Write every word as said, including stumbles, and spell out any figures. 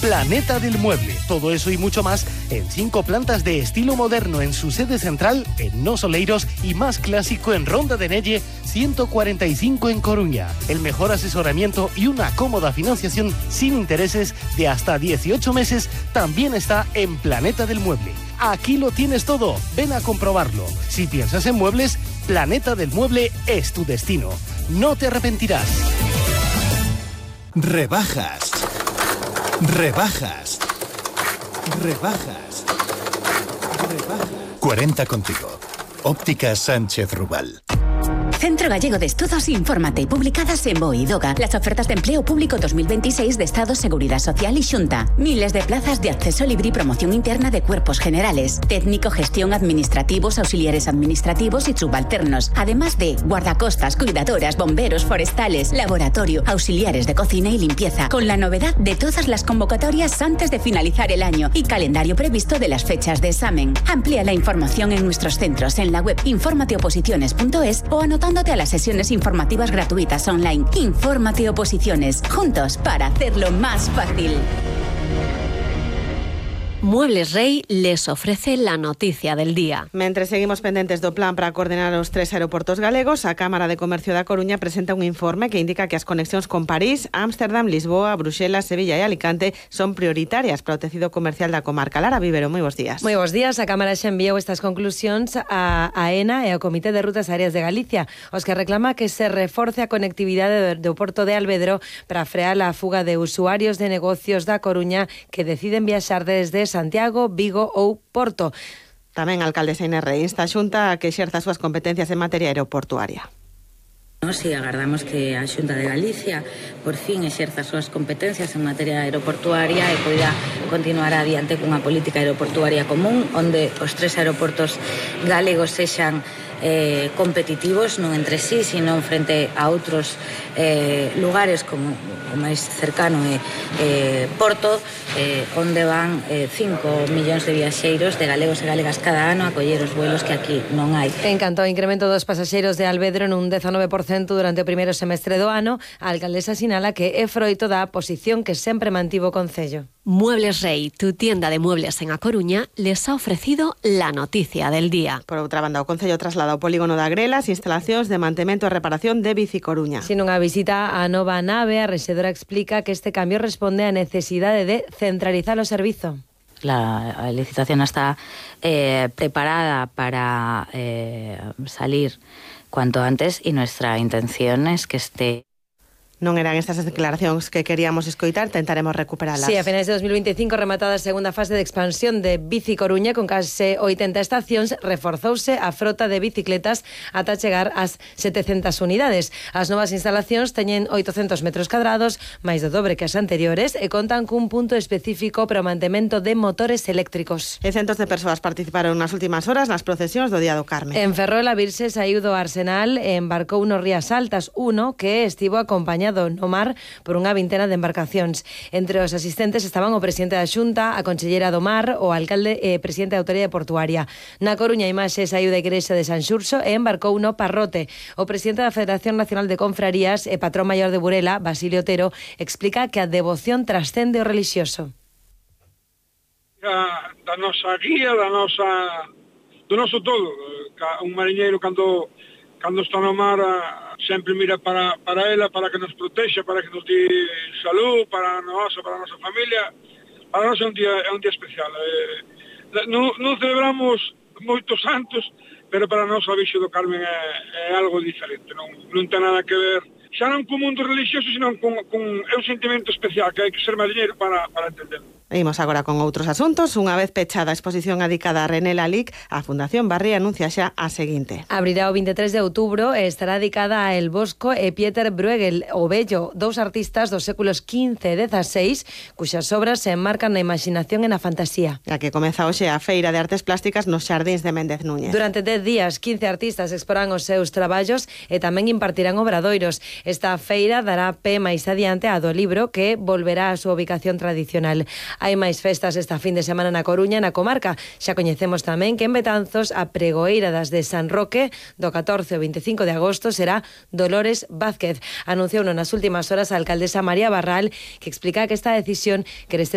Planeta del Mueble. Todo eso y mucho más en cinco plantas de estilo moderno en su sede central en Nos Oleiros y más clásico en Ronda de Nelle ciento cuarenta y cinco en Coruña. El mejor asesoramiento y una cómoda financiación sin intereses de hasta dieciocho meses también está en Planeta del Mueble. Aquí lo tienes todo. Ven a comprobarlo. Si piensas en muebles, Planeta del Mueble es tu destino. No te arrepentirás. Rebajas. Rebajas. Rebajas. Rebajas. cuarenta contigo. Óptica Sánchez Rubal. Centro Gallego de Estudos, infórmate, publicadas en BOE y DOGA. Las ofertas de empleo público dos mil veintiséis de Estado, Seguridad Social y Xunta. Miles de plazas de acceso libre y promoción interna de cuerpos generales. Técnico, gestión, administrativos, auxiliares administrativos y subalternos. Además de guardacostas, cuidadoras, bomberos, forestales, laboratorio, auxiliares de cocina y limpieza. Con la novedad de todas las convocatorias antes de finalizar el año y calendario previsto de las fechas de examen. Amplía la información en nuestros centros en la web infórmateoposiciones punto es o anotando a las sesiones informativas gratuitas online. Infórmate Oposiciones, juntos para hacerlo más fácil. Muebles Rey les ofrece la noticia del día. Mentre seguimos pendentes do plan para coordenar os tres aeroportos galegos, a Cámara de Comercio da Coruña presenta un informe que indica que as conexións con París, Ámsterdam, Lisboa, Bruxelas, Sevilla e Alicante son prioritarias para o tecido comercial da comarca. Lara Vivero, moi bons días. Moi bons días. A Cámara xa enviou estas conclusións a AENA e ao Comité de Rutas Aéreas de Galicia, os que reclama que se reforce a conectividade do Porto de Alvedro para frear a fuga de usuarios de negocios da Coruña que deciden viaxar desde Santiago, Vigo ou Porto. Tamén a alcaldesa Inés Rey insta a Xunta a que exerza as súas competencias en materia aeroportuaria. Nos e agardamos que a Xunta de Galicia por fin exerza as súas competencias en materia aeroportuaria e poida continuar adiante cunha política aeroportuaria común onde os tres aeroportos galegos sexan eh, competitivos non entre sí, sino frente a outros eh, lugares como o máis cercano é eh, Porto, eh, onde van eh, cinco millóns de viaxeiros de galegos e galegas cada ano a coller os vuelos que aquí non hai. En canto ao incremento dos pasaxeiros de Alvedro nun dezanove por cento durante o primeiro semestre do ano, a alcaldesa sinala que é froito da posición que sempre mantivo o Concello. Muebles Rey, tu tienda de muebles en A Coruña, les ha ofrecido la noticia del día. Por outra banda, o Concello traslada ao polígono da Grela as instalacións de mantemento e reparación de Bici Coruña. Sin unha visita á nova nave, a rexedora explica que este cambio responde á necesidade de centralizar o servizo. La licitación está eh, preparada para eh, salir cuanto antes y nuestra intención es que esté... Non eran estas as declaracións que queríamos escoitar, tentaremos recuperalas. Sí, a finais de dos mil veinticinco, rematada a segunda fase de expansión de Bici Coruña con case oitenta estacións, reforzouse a frota de bicicletas ata chegar ás setecentas unidades. As novas instalacións teñen oitocentos metros cadrados, máis do dobre que as anteriores, e contan cun punto específico para o mantemento de motores eléctricos. E centos de persoas participaron nas últimas horas nas procesións do Día do Carme. En Ferrol, a Virxe saiu do Arsenal e embarcou nos Rías Altas, uno que estivo acompañado no mar por unha vintena de embarcacións. Entre os asistentes estaban o presidente da Xunta, a conselleira do Mar, o alcalde e presidente da Autoridade Portuaria. Na Coruña, a imaxe saiu da igrexa de San Xurxo e embarcou no Parrote. O presidente da Federación Nacional de Confrarías e patrón maior de Burela, Basilio Otero, explica que a devoción trascende o relixioso. Da, da nosa guía, da nosa, do noso todo. Un mariñeiro cando cando está no mar sempre mira para, para ela, para que nos protexa, para que nos dé salud, para a nosa, para a nosa familia. Para nós é un día, é un día especial. Eh, non, non celebramos moitos santos, pero para nós a Virxe do Carmen é, é algo diferente. Non, non ten nada que ver, xa non co mundo religioso, sino con, con é un sentimento especial que hai que ser mariñeiro para, para entenderlo. Imos agora con outros asuntos. Unha vez pechada a exposición adicada a René Lalique, a Fundación Barri anuncia xa a seguinte. Abrirá o vinte e tres de outubro e estará dedicada a El Bosco e Pieter Bruegel, o Bello, dous artistas dos séculos quince e dezasseis, cuxas obras se enmarcan na imaginación e na fantasía. A que comeza hoxe a Feira de Artes Plásticas nos Xardíns de Méndez Núñez. Durante dez días, quince artistas exporán os seus traballos e tamén impartirán obradoiros. Esta feira dará pé máis adiante a do libro, que volverá á súa ubicación tradicional. Hai máis festas esta fin de semana na Coruña, na comarca. Xa coñecemos tamén que en Betanzos a pregoeira das de San Roque do catorce ao veinticinco de agosto será Dolores Vázquez. Anunciouno nas últimas horas a alcaldesa María Barral, que explica que esta decisión quere